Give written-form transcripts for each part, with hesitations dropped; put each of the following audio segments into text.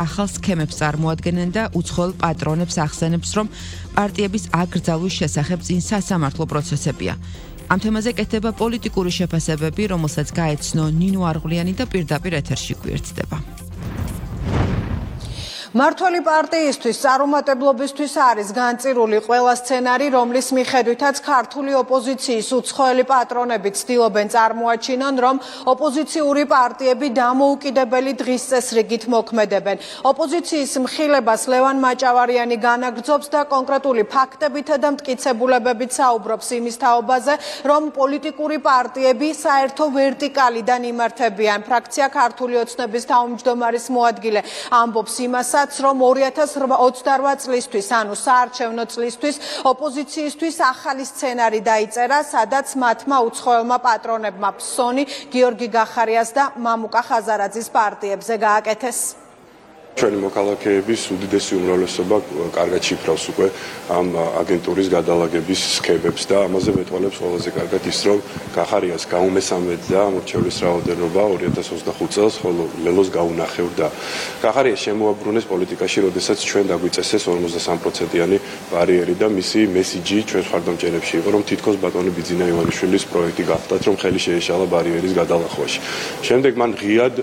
ახალ სქემებს წარმოადგენენ და უცხოელ პატრონებს ახსენებს, რომ პარტიების აკრძალვის შესახებ წინ სასამართლო პროცესებია. ამ თემაზე კეთდება პოლიტიკური შეფასებები, რომელსაც გაეცნო ნინო არღვლიანი და პირდაპირ ეთერში გვერდდება. მართველი პარტიისთვის წარუმატებლობისთვის არის განწირული ყველა სცენარი, რომლის მიხედვითაც ქართული ოპოზიციის უცხოელი პატრონები ცდილობენ წარმოაჩინონ, რომ ოპოზიციური პარტიები დამოუკიდებელი დღის წესრიგით მოქმედებენ. ოპოზიციის მხილებას ლევან მაჭავარიანი განაგრძობს და კონკრეტული ფაქტებითა და მტკიცებულებებით საუბრობს იმის თაობაზე, რომ პოლიტიკური პარტიები საერთო ვერტიკალიდან იმართებიან. ფრაქცია ქართული ოცნების თავმჯდომარის მოადგილე ამბობს იმასაც, რომ 2028 წლისთვის, ანუ საარჩევნო წლისთვის, ოპოზიციისთვის ახალი სცენარი დაიწერა, სადაც მათმა უცხოელმა პატრონებმა ფსონი, გიორგი გახარიას და მამუკა ხაზარაძის პარტიებზე გააკეთეს. ჩვენი მოქალაქეების უდიდესი უმრავლესობა კარგად შიფრავს უკვე ამ აგენტურის გადალაგების სქემებს და ამაზე მეტყველებს ყველაზე კარგად ის, რომ გახარიას გაუმესამედ და მორჩევლის რაოდენობა 2025 წელს, ხოლო ლელოს გაუნახევრდა. გახარიას შემოაბრუნეს პოლიტიკაში, როდესაც ჩვენ დაგვიწესეს 53%-იანი ბარიერი და მისი მესიჯი ჩვენ მხარდამჭერებში იყო, რომ თითქოს ბატონი ბიძინა ივანიშვილის პროექტი გახდათ, რომ ხელი შეეშალა ბარიერის გადალახვაში. შემდეგ მან ღიად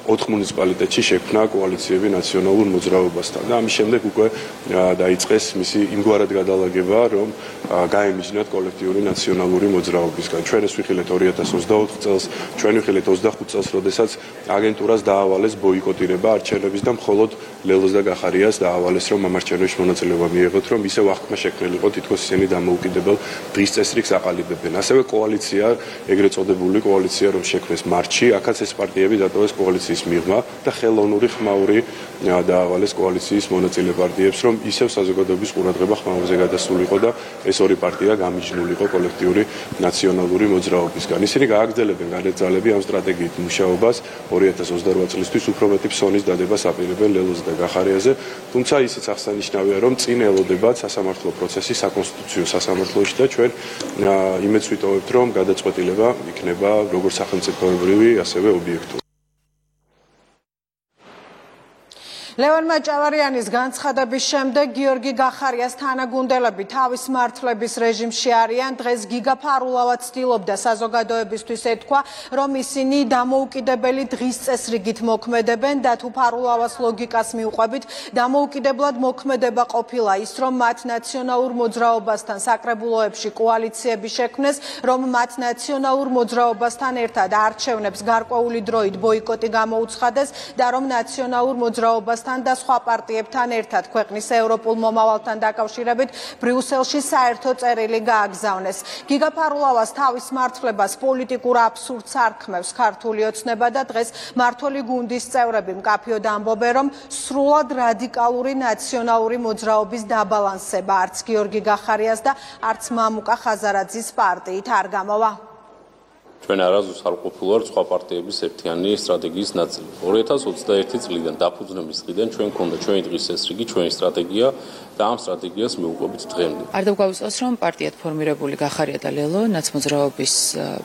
4 მუნიციპალიტეტში შექმნა კოალიციები ნაციონალურ მოძრაობასთან და ამის შემდეგ უკვე დაიწყეს მისი იმგვარად გადალაგება, რომ გაემიჯნათ კოლექტიური ნაციონალური მოძრაობისგან. ჩვენ ეს ვიხილეთ 2024 წელს, ჩვენ ვიხილეთ 25 წელს, როდესაც აგენტურას დაავალეს ბოიკოტირება არჩევნების და მხოლოდ ლელოს და გახარიას დაავალეს, რომ ამ არჩევნებში მონაწილეობა მიიღოთ, რომ ისევ აღქმა შექმნილიყო, თითქოს ისინი დამოუკიდებელ დღის წესრიგს აყალიბებენ. ასევე კოალიცია, ეგრეთ წოდებული კოალიცია, რომ შექმნეს მარტში, აქაც ეს პარტიები დატოვეს კოალიციის მიღმა და ხელოვნური ხმაური დაავალეს კოალიციის მონაწილე პარტიებს, რომ ისევ საზოგადოების ყურადღება ხმაურზე გადასულიყო და ეს ორი პარტია გამიჯნულიყო კოლექტიური ნაციონალური მოძრაობისგან. ისინი გააგრძელებენ განეძალები ამ სტრატეგიით მუშაობას 2028 წლისთვის უფრო მეტი ფსონის დადებას აპირებენ ლელოზე და გახარიაზე, თუმცა ისიც აღსანიშნავია, რომ წინ ელოდებათ სასამართლო პროცესი საკონსტიტუციო სასამართლოში და ჩვენ იმედს ვიტოვებთ, რომ გადაწყვეტილება იქნება როგორც სახელმწიფოებრივი, ასევე ობიექტური. ლევან მაჭავარიანის განცხადების შემდეგ გიორგი გახარიას თანაგუნდელები თავის მართლების რეჟიმში არიან. დღეს გიგა ფარულავა ცდილობდა საზოგადოებისთვის ეთქვა, რომ ისინი დამოუკიდებელი დღის წესრიგით მოქმედებენ და თუ ფარულავას ლოგიკას მიუყვებით, დამოუკიდებლად მოქმედება ყოფილა ის, რომ მათ ნაციონალურ მოძრაობასთან საკრებულოებში კოალიციები შექმნეს, რომ მათ ნაციონალურ მოძრაობასთან ერთად არჩევნებს გარკვეული დროით ბოიკოტი გამოუცხადეს და რომ ნაციონალურ მოძრაობასთან და სხვა პარტიებთან ერთად ქვეყნის ევროპულ მომავალთან დაკავშირებით ბრიუსელში საერთო წერილი გააგზავნეს. გიგა ფარულავას თავის მართლებას პოლიტიკურ აბსურდს არქმევს ქართული ოცნება და დღეს მართველი გუნდის წევრები მკაფიოდ ამბობენ, რომ სრულად რადიკალური ნაციონალური მოძრაობის დაბალანსება არც გიორგი გახარიას და არც მამუკა ხაზარაძის პარტიით არ გამოვა. ჩვენ არასდროს არ ყოფილვართ სხვა პარტიების ერთიანი სტრატეგიის ნაწილი. 2021 წლიდან დაფუძნების დღიდან ჩვენ გქონდა ჩვენი დღის წესრიგი, ჩვენი სტრატეგია და ამ სტრატეგიას მივუყვებით დღემდე. არ დავგვაუწყოს, რომ პარტიად ფორმირებული გახარია და ლელო ნაცმოძრაობის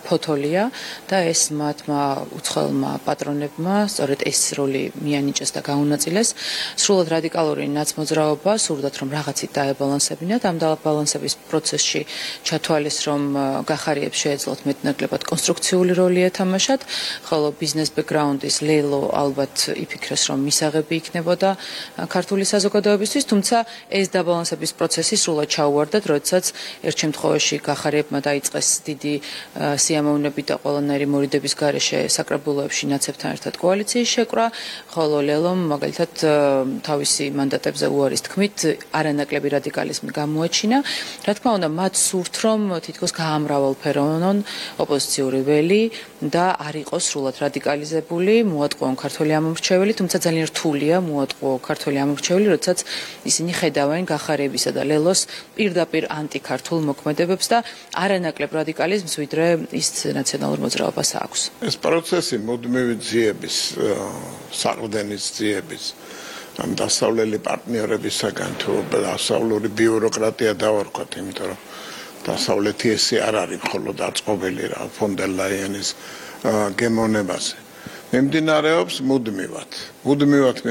ფოთოლია და ეს მათმა უცხოელმა პატრონებმა სწორედ ეს როლი მიანიჭეს და გაუნაწილეს. სრულად რადიკალური ნაცმოძრაობა სურდათ, რომ რაღაცით დაებალანსებინათ. ამ დაბალანსების პროცესში ჩათვალეს, რომ გახარიებს შეეძლოთ მეტნაკლებად კონსტრუქციული როლი ეთამაშათ, ხოლო ბიზნეს ბექგრაუნდის ლელო ალბათ იფიქრეს, რომ მისაღები იქნებოდა ქართული საზოგადოებისთვის, თუმცა ეს დაბალანსების პროცესი სრულად ჩაუვარდათ, როდესაც ერთ შემთხვევაში გახარიებმა დაიწყეს დიდი სიამოვნები და ყველანაირი მორიდების გარეშე საკრებულოებში ნაცებთან ერთად კოალიციის შეკრა, ხოლო ლელომ მაგალითად თავისი მანდატებზე უარის თქმით არანაკლები რადიკალიზმი გამოაჩინა. რა თქმა უნდა, მათ სურთ, რომ თითქოს გაამრავალფეროვნონ ოპოზიციური ველი და არ იყოს სრულად რადიკალიზებული, მოატყუონ ქართული ამომრჩეველი, თუმცა ძალიან რთულია მოატყუო ქართული ამომრჩეველი, როდესაც ისინი ხედავენ გახარიებისა და ლელოს პირდაპირ ანტიქართულ მოქმედებებს და არანაკლებ რადიკალიზმს, ვიდრე ის ნაციონალურ მოძრაობას აქვს. ეს პროცესი მუდმივი ძიების, საყრდენის ძიების, ამ დასავლელი პარტნიორებისაგან თუ დასავლური ბიუროკრატია დავარქვათ, იმიტომ რომ დასავლეთი ესე არ არის მხოლოდ აწყობილი რა ფონ დერ ლაიენის გემოვნებაზე. მიმდინარეობს მუდმივად მიმდინარეობს